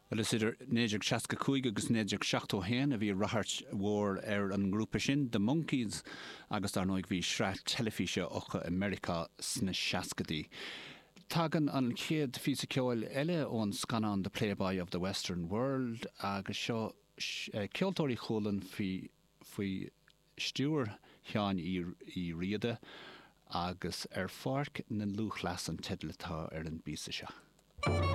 Bhuel, is idir 1965 agus 1971 a bhí ráchairt mhór ar an ngrúpa sin, The Monkees, agus dar ndóigh bhí sraith teilifíse acu i Meiriceá sna seascaidí. Tagann an chéad phíosa ceoil eile ón scannán The Playboy of the Western World agus seo Ceoltóirí Chualann faoi stiúir Sheáin Uí Riada agus Ar Pháirc na Lúthchleas an teideal atá ar an bpíosa seo.